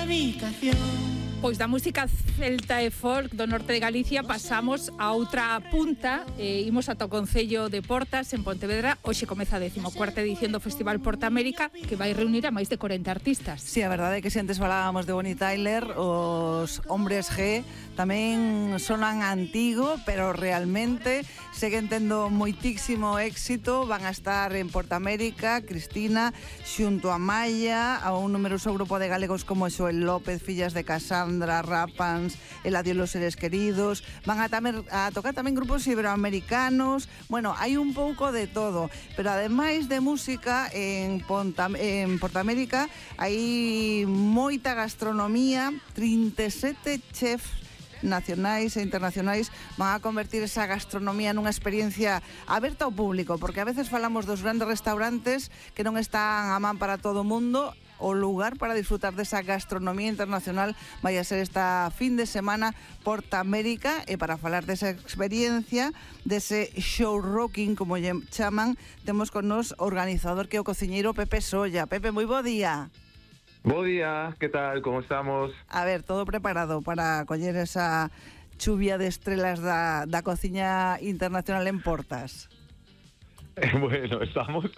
habitación. Pois da música celta e folk do norte de Galicia pasamos a outra punta, imos ata o Concello de Portas en Pontevedra. Hoxe comeza a 14ª edición do Festival Porta América, que vai reunir a máis de 40 artistas. Sí, a verdade é que se antes falábamos de Bonnie Tyler, os Hombres G tamén sonan antigo, pero realmente seguen tendo moitísimo éxito. Van a estar en Porta América, Cristina, xunto a Maya, a un numeroso grupo de galegos como Xoel López, Fillas de Casandra, Rapans, El adiós los seres queridos. Van a tocar tamén grupos iberoamericanos. Bueno, hai un pouco de todo, pero ademais de música en Porta América hai moita gastronomía. 37 chefs nacionais e internacionais van a convertir esa gastronomía nunha experiencia aberta ao público, porque a veces falamos dos grandes restaurantes que non están a man para todo o mundo. O lugar para disfrutar desa gastronomía internacional vai a ser esta fin de semana Porta América, e para falar desa experiencia, dese show rocking, como lle chaman, temos con nos o organizador, que é o cociñeiro Pepe Solla. Pepe, moi bo día. Bo día, que tal, como estamos? A ver, todo preparado para coller esa chuvia de estrelas da cociña internacional en Portas? Bueno, estamos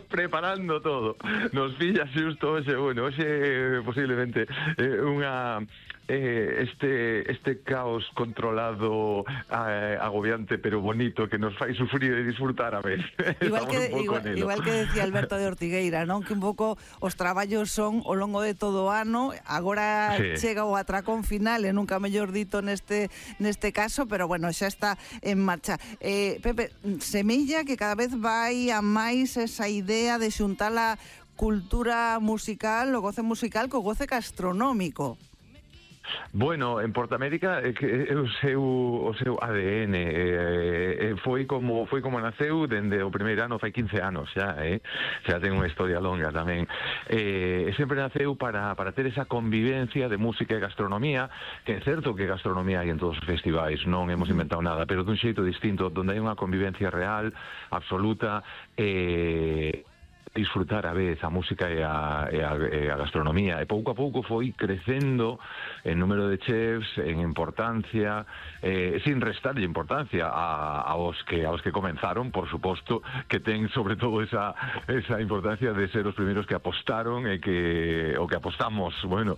preparando todo. Nos pilla xusto hoxe, bueno, hoxe posiblemente este caos controlado, agobiante pero bonito, que nos fai sufrir e disfrutar a vez. Igual que decía Alberto de Ortigueira, non? Que un pouco os traballos son ao longo de todo o ano. Agora sí, chega o atracón final, e nunca mellor dito neste caso, pero bueno, xa está en marcha. Pepe, semella que cada vez vai a máis esa idea de xuntar a cultura musical, o goce musical, co goce gastronómico. Bueno, en Porta América é o seu ADN, foi como naceu dende o primeiro ano, fai 15 anos xa ten unha historia longa tamén. Sempre naceu para ter esa convivencia de música e gastronomía, que é certo que gastronomía hai en todos os festivais, non hemos inventado nada, pero dun xeito distinto, donde hai unha convivencia real, absoluta, disfrutar a vez a música e a gastronomía, e pouco a pouco foi crecendo en número de chefs, en importancia, sin restarlle importancia aos que comenzaron, por suposto, que ten sobre todo esa importancia de ser os primeiros que apostaron e que apostamos, bueno,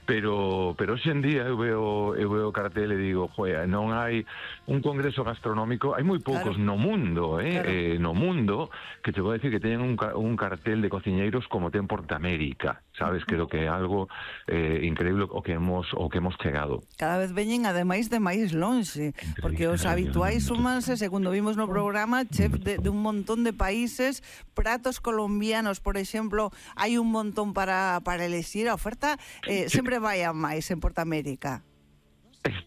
pero hoxe en día eu veo o cartel e digo, joder, non hai un congreso gastronómico, hai moi poucos no mundo, no mundo, que te vou decir que teñen un cartel de cociñeiros como ten Porta América, sabes? Creo que é algo increíble o que hemos chegado. Cada vez veñen ademais de máis lonxe, porque os habituais súmanse, segundo vimos no programa, chef de un montón de países, pratos colombianos, por exemplo, hai un montón para elexir. A oferta sempre vai a máis en Porta América.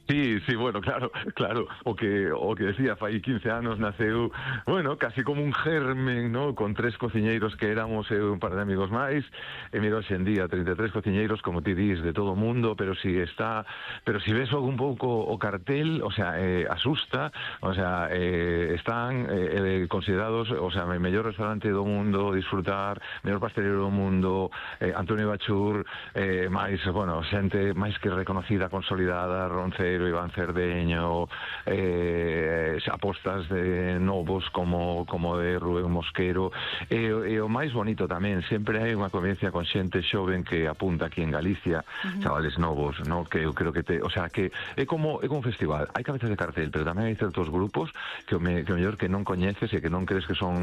Sí, bueno, claro, o que decía, fai 15 anos naceu, bueno, casi como un germen, ¿no? Con 3 cociñeiros que éramos un par de amigos máis, e mira hoxe en día 33 cociñeiros, como ti dis, de todo o mundo, pero si ves algún pouco o cartel, o sea, asusta, o sea, están considerados, o sea, o mellor restaurante do mundo, disfrutar, mellor pastelero do mundo, Antonio Bachur, máis, bueno, xente máis que reconocida, consolidada, Roncero, Iván Cerdeño, apostas de novos como de Rubén Mosquero, e o máis bonito tamén, sempre hai unha convivencia con xente xoven que apunta aquí en Galicia, chavales novos, ¿no? Que eu creo que o sea, que é como un festival, hai cabezas de cartel, pero tamén hai certos grupos que o mellor que non coñeces e que non crees que son